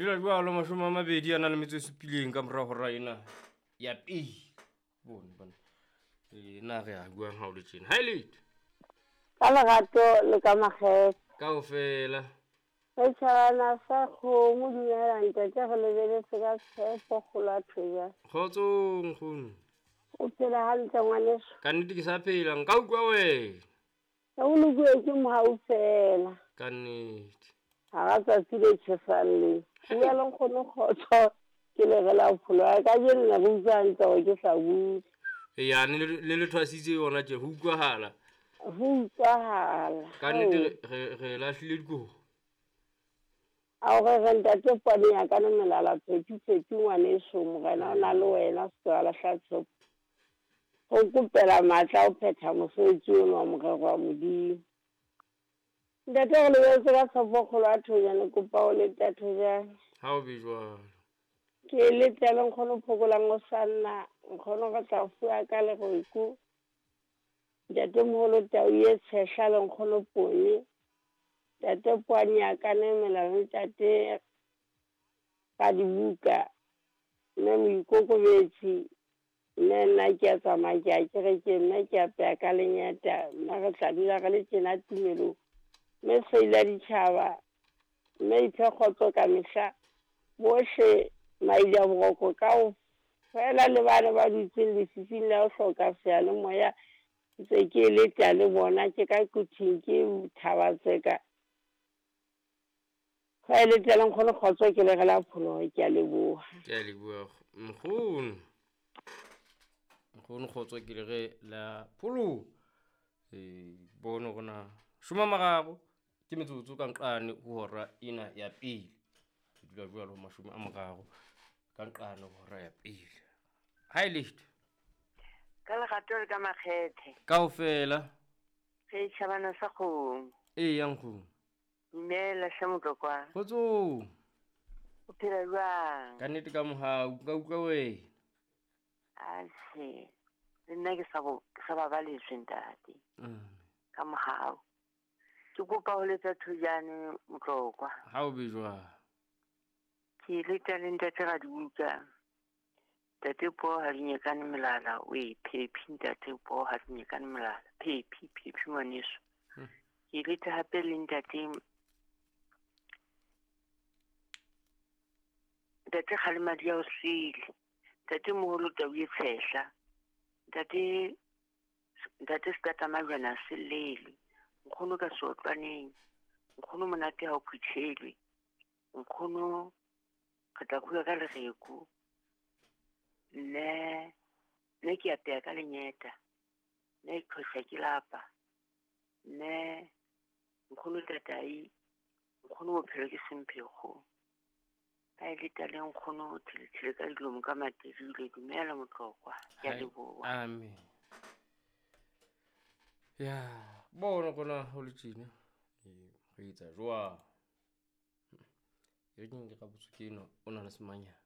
Dula jwalo 20 a na le metso e supileng ka mora hora ena ya pele. Bone bana. Na re a buang ha o le tjena. Ha e letho. Ka lerato le ka makgethe. Kaofela. Re tjhabana sa kgomo dumela ntate re lebeletse ka tshepo kgolo a thoja. Kgotsong nkgono. O phela hantle ngwaneso. Ka nnete ke sa phela nka utlwa wena. O lokuwe ke mohau fela. Ka nnete. Ha ra tsatsi le tjhesang le. Bua le nkgono kgotso ke le re la pholo ya ka jeno ne re utlwa hantle hore ke hlabula. Eya le le thwasitse yona tje ho utlwahala. Ho utlwahala. Ka nnete re lahlile dikobo. A o re ntate pone ya ka melala phephi phephi ngwaneso morena o na le wena se wa lahla tshepo. Ho kopela matla o phetha mosebetsi ono wa morero wa Modimo. Ntate re lebeletse ka tshepo kgolo a thonyane kopa o leta thojane. Ha o be jwalo. Ke letele nkgono phokolang o sa nna nkgono re tla fuwa ka lereko. Ntate moholo tau e tshehla le nkgono pone. Ntate poane ya ka ne melala ntate ka dibuka mme moikokobetsi mme nna ke a tsamaya ke a kerekeng mme ke apeya ka lenyata mme re tla dula re le tjena tumelong mme seila ditjhaba mme iphe kgotso ka mehla bohle maile a boroko kaofela le bana ba dutseng lefifing la ho hloka seyalemoya ntse ke leta le bona ke ka quthing ke thabatseka. Fa le tla nkgono kgotso ke le re la pholoho ke a leboha. Ke a leboha nkgono. Nkgono kgotso ke le re la pholoho. Bono rona 30 ke metsotso ka nqane ho hora ena ya pele. Ke dula jwalo 30 ka nqane ho hora ya pele. Ha e letho. Ka lerato le ka makgethe. Kaofela. Re tjhabana sa kgomo. Eya nkgono. Dumela hle motlokwa. Kgotsong. O phela jwang? Ka nnete ka mohau nka utlwa wena. Atjhe, le nna ke sa babaletswe ntate. Ka mohau. Ke kopa ho letsa thojane motlokwa. Ha o be jwang? Ke leta le ntate Radibuka. Ntate po ha di nyekane melala o e phephi ntate po ha di nyekane melala. Phephi phephi ngwaneso. Ke leta hape le ntate Ntate Kgalemadi ya o sele. Ntate moholo tau e tshehla. Ntate Sekata Majwana se lele. Nkgono ka seotlwaneng. Nkgono monate ha o phuthelwe. Nkgono re tla bua ka lereko. Nne ke apeya ka lenyeta. Nne ke qhosha ke lapa. Nne nkgono tatai. Nkgono bophelo ke semphego. Ha e leta le nkgono thelethele ka dilomo ka materile. Dumela motlokwa. Ke a leboha. Amen. Ya, bona kona ho le tjena. Re etsa jwang? E re ke ka botso ke eno o na le semanyana.